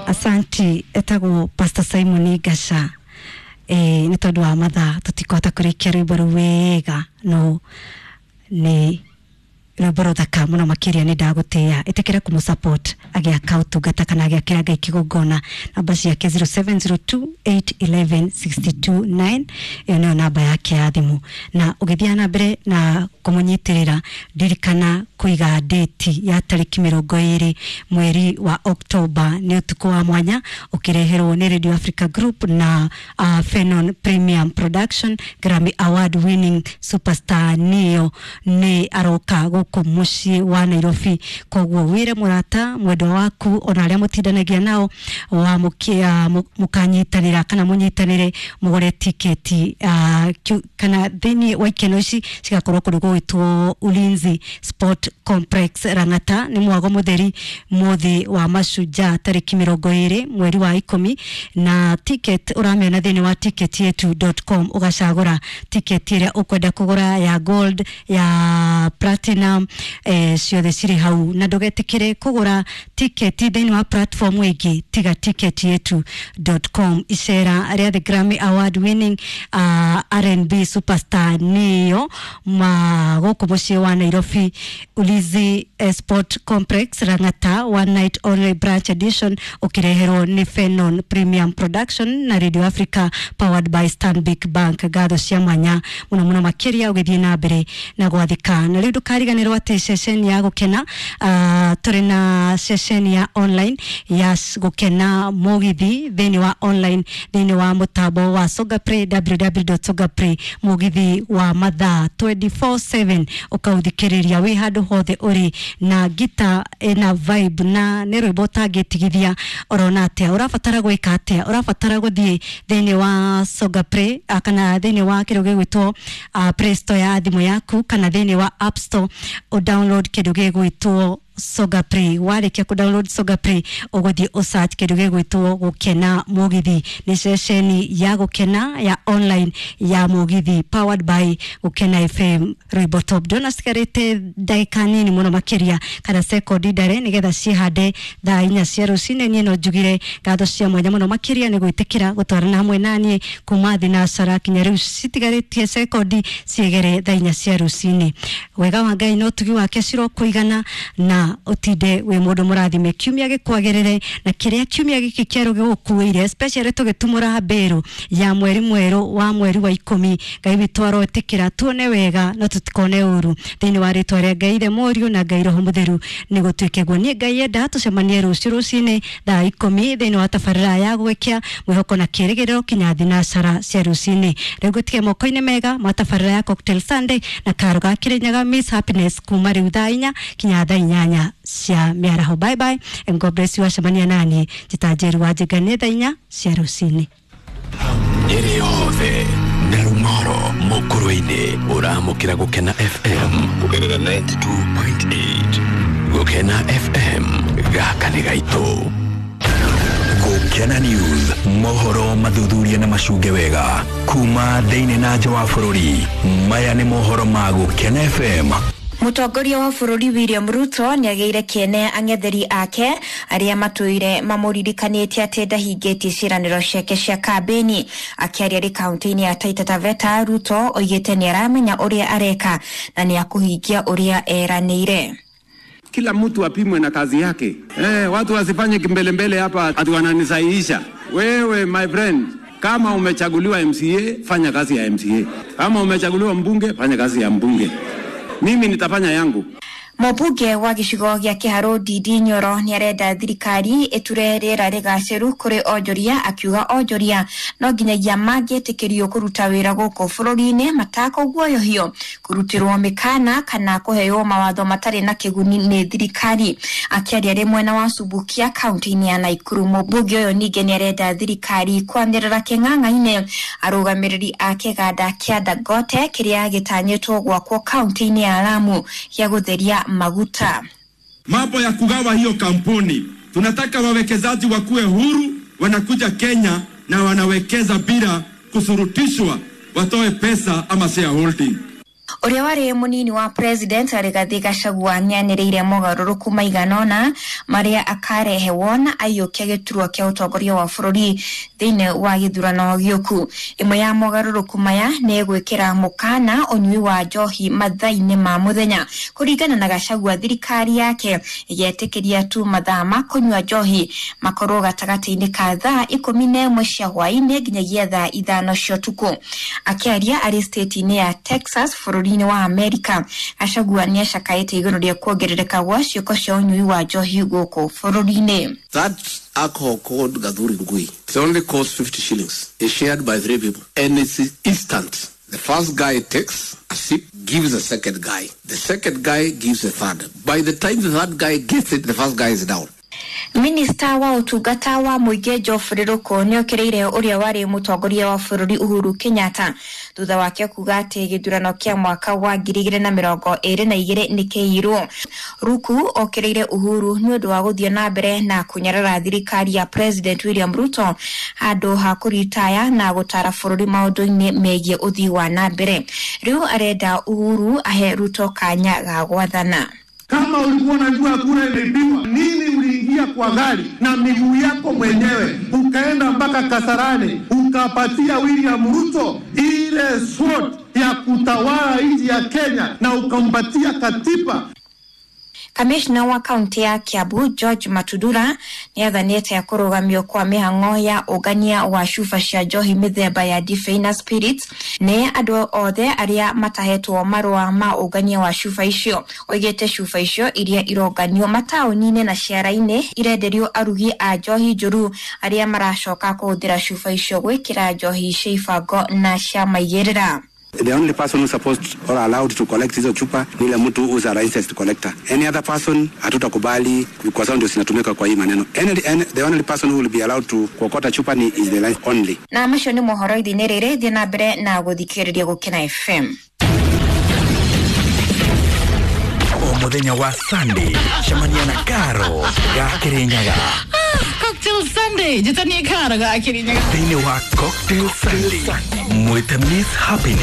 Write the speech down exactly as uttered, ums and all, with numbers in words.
Asanti. Etagwo Pastor Simon Gasha. Eh, nĩ tondũ wa mathaa tũtikũhota kũrĩkia rwĩmbo rũu wega, no nĩ rwĩmbo rũthaka mũno makĩria. Nĩ ndagũtĩĩa, ĩtĩkĩra kũmũ support agĩaka ũtungata kana agĩakĩra Ngai kĩgongona. Namba ciake zero seven zero two eight one one six two nine, ĩyo nĩyo namba yake ya thimũ. Na ũgĩthiĩ na mbere na kũmũnyitĩrĩra, ndirikana kũiga date ya tarĩki mĩrongo ĩrĩ mweri wa Oktoba. Nĩ ũtukũ wa mwanya ũkĩreherwo nĩ Radio Africa Group na uh, Fenon Premium Production. Grammy Award winning superstar Neo nĩ aroka gũkũ mũciĩ wa Nairobi. Koguo wĩre mũrata, mwendwa waku, ona arĩa mũtindanagia nao wa mũkanyitanĩra kana mũnyitanĩre mũgũre tiketi uh, kana thĩinĩ wa ikeno ici cigakorwo kũndũ gũgwĩtwo Ulinzi Sport Complex, Lang'ata. Nĩ mwago mũtheri mũthĩ wa mashujaa, tarĩki mĩrongo ĩrĩ mweri wa ikũmi. Na ticket ũramĩona thĩinĩ wa ticket yetu dot com. Ũgacagũra ticket ĩrĩa ũkwenda kũgũra, ya gold, ya platinum, eh, ciothe cirĩ hau. Na ndũgetĩkĩre kũgũra tiketi thĩinĩ wa platform ĩngĩ tiga ticket yetu dot com. Icera rĩa the Grammy Award winning uh, R and B superstar Neo ma gũkũ mũciĩ wa Nairobi, Ulinzi eh, Sport Complex, Lang'ata, one night only branch edition, ũkĩreherwo nĩ Fenon Premium Production na Radio Africa, powered by Stanbic Bank. Ngatho cia mwanya mũno mũno makĩria ũgĩthiĩ na mbere na gwathĩka. Na rĩu ndũkariganĩrwo atĩ ceceni ya gũkena, uh, tũrĩ na ceceni ya online ya gũkena mũgithi thĩinĩ wa online, thĩinĩ wa mũtambo wa Songa Play, w w w dot songaplay, mũgithi wa mathaa twenty-four seven, ũkaũthikĩrĩria wĩ handũ hothe ũrĩ na ngita ĩna vibe na nĩ rwĩmbo ũtangĩtigithia. Ũrona atĩa? Ũrabatara gwĩka atĩa? Ũrabatara gũthiĩ thĩinĩ wa Songa Play ah, kana thĩinĩ wa kĩndũ gĩgwĩtwo uh, Play Store ya thimũ yaku kana thĩinĩ wa App Store, ũdownload kĩndũ gĩgwĩtwo Songa Play. Warĩkia kũ download Songa Play, ũgũthiĩ ũsearch kĩndũ gĩgwĩtwo Gũkena Mũgithi. Nĩ ceceni ya gũkena ya online ya mũgithi, powered by Gũkena F M, rwĩmbo top. Ndĩrona cigarĩte ndagĩka nini mũno makĩria kana sekondi ndare nĩgetha ciĩhande thaa inya cia rũcinĩ. Niĩ no njugire ngatho cia mwanya mũno makĩria nĩ gwĩtĩkĩra gũtwarana hamwe naniĩ kuma thinacara kinya rĩu citigarĩtie sekondi ciĩgere thaa inya cia rũcinĩ. Wega wa Ngai na ũtugi wake cirokũigana na ũtinde wĩ mũndũ mũrathime. Kiumia gĩkwagĩrĩre na kĩrĩa kiumia gĩkĩ kĩerũ gĩgũkuĩire, especially tũgĩtumũra mbĩrũ ya mweri mwerũ wa mweri wa ikũmi. Ngai witũ aroĩtĩkĩra tuone wega no tũtikone ũru. Thĩinĩ wa rĩtwa rĩa Ngai Ithe, Mũriũ na Ngai Roho Mũtheru, nĩ gũtuĩke guo. Niĩ Ngai enda tũcemanie rũciũ rũcinĩ thaa ikũmi thĩinĩ wa tabarĩra ya Gwĩkia Mwĩhoko na Kĩrĩgĩrĩro kinya thinacara cia rũcinĩ. Rĩu ngũtige moko-inĩ mega ma tabarĩra ya Cocktail Sunday na karo ga Kĩrĩnyaga, Miss Happiness, kuma rĩu thaa inya kinya thaa inyanya cia mĩaraho. Bye bye and God bless you. Acemania nani njĩta Njeru wa Njĩnga nĩ thaa inya cia rũcinĩ. Nyĩrĩ yothe na Rumoro mũkũrũ-inĩ, ũramũkĩra Gũkena F M kũgerera mĩrongo kenda na igĩrĩ turuma kenda. Gũkena F M, gaka nĩ gaitũ. Gũkena News, mohoro mathuthuria na macunge wega kuma thĩinĩ na nja wa bũrũri. Maya nĩ mohoro ma Gũkena F M. Mũtongoria wa bũrũri William Ruto nĩagĩire kĩene ang'etheri ake arĩa matũire mamũririkanĩtie atĩ ndahingĩtie ciĩranĩro ciake cia kambĩni. Akĩaria arĩ kaunti-inĩ ya Taita Taveta, Ruto oigĩte nĩaramenya ũrĩa areka na nĩakũhingia ũrĩa eranĩire. Kila mtu apimwe na kazi yake. Eh, watu wasifanye kimbelembele hapa ati wananisahihisha. Wewe my friend, kama umechaguliwa M C A, fanya kazi ya M C A. Kama umechaguliwa mbunge, fanya kazi ya mbunge. Mimi nitafanya yangu. Mũmbunge wa gĩcigo gĩa Kĩharũ Ndindi Nyoro nĩarenda thirikari ĩture rĩera rĩgacĩru kũrĩ onjoria, akiuga onjoria no nginyagia mangĩtĩkĩrio kũruta wĩra gũkũ bũrũri-inĩ matakũguoyohio, kũrutĩrwo mĩkana kana kũheo mawatho matarĩ na kĩguni nĩ thirikari. Akĩaria arĩ mwena wa Subukia kaunti-inĩ ya Naikuru, mũmbunge ũyũ ningĩ nĩarenda thirikari kwanĩrĩra kĩng'ang'a-inĩ arũgamĩrĩri a kĩganda kĩa Dangote kĩrĩa gĩtanyĩtwo gwakwo kaunti-inĩ ya Lamu gĩa gũtheria maguta. Mambo ya kugawa hiyo kampuni, tunataka wawekezaji wakuwe huru, wanakuja Kenya na wanawekeza bila kusurutishwa watoe pesa ama shareholding. Ũrĩa warĩ mũnini wa president Rigathi Gachagua nĩanĩrĩire mogarũrũku maigana ũna marĩa akarehe wona aiyũkia gĩturwa kĩa ũtongoria wa bũrũri thĩinĩ wa gĩthurano gĩũku. Ĩmwe ya mogarũrũku maya nĩ gwĩkĩra mũkana ũnyui wa njohi mathaa-inĩ ma mũthenya. Kũringana na Gachagua, thirikari yake ĩgetĩkĩria tu mathaa ma kũnyua njohi makorwo gatagatĩ-inĩ ka thaa ikũmi na ĩmwe cia hwaĩ-inĩ nginyagia thaa ithano cia ũtukũ. Akĩaria arĩ state-inĩ ya Texas bũrũri-inĩ wa Amerika, Gachagua nĩacakaĩte igũrũ rĩa kuongerereka gwa ciĩko cia ũnyui wa njohi gũkũ bũrũri-inĩ. That alcohol called Gathuri Ngui, it only costs fifty shillings. It's shared by three people and it's instant. The first guy takes a sip, gives the second guy. The second guy gives the third. By the time the third guy gets it, the first guy is down. Minista wa ũtungata wa mũingĩ Geoffrey Ruku nĩokĩrĩire ũrĩa warĩ mũtongoria wa bũrũri Uhuru Kenyatta thutha wake kuga atĩ gĩthurano kĩa mwaka wa ngiri igĩrĩ na mĩrongo ĩrĩ na igĩrĩ nĩkĩiyirwo. Ruku okĩrĩire Uhuru nĩ ũndũ wa gũthiĩ na mbere na kũnyarara thirikari ya President William Ruto handũ ha kũritaya na gũtara bũrũri maũndũ-inĩ megiĩ ũthii wa na mbere. Rĩu arenda Uhuru ahe Ruto kanya ga gwathana. Kama ulikuwa unajua kura imeibiwa, nini uliingia kwa gari na miguu yako mwenyewe ukaenda mpaka Kasarani ukapatia William Ruto ile slot ya kutawala nchi ya Kenya na ukampatia katiba? Kamishna wa kaunti ya Kiambu George Matudura nĩathanĩte ya kũrũgamio kwa mĩhang'o ya ũngania wa cuba cia njohi mĩthemba ya ndibei na spirits nĩ andũ othe arĩa matahetwo marũa ma ũngania wa cuba icio. Oigĩte cuba icio iria ironganio mataũni-inĩ na ciara-inĩ irenderio arugi a njohi njũru arĩa maracoka kũhũthĩra cuba icio gwĩkĩra njohi cia ibango na cia maigĩrĩra. The only person who's supposed or allowed to collect hizo chupa ni ile mtu who's a licensed collector. Any other person hatutakubali kwa sababu ndio zinatumika kwa hii maneno. Any, any, the only person who will be allowed to kuokota chupa ni is the license only. Na macio nĩ mohoro ithini rĩrĩ, thiĩ na mbere na gũthikĩrĩria Gũkena F M. O mũthenya wa Sunday, cemania na Karo ga Kĩrĩnyaga. Cocktail Sunday, njĩtanie Karo ga Kĩrĩnyaga. Thĩinĩ wa Cocktail Sunday, mwĩte Miss Happiness.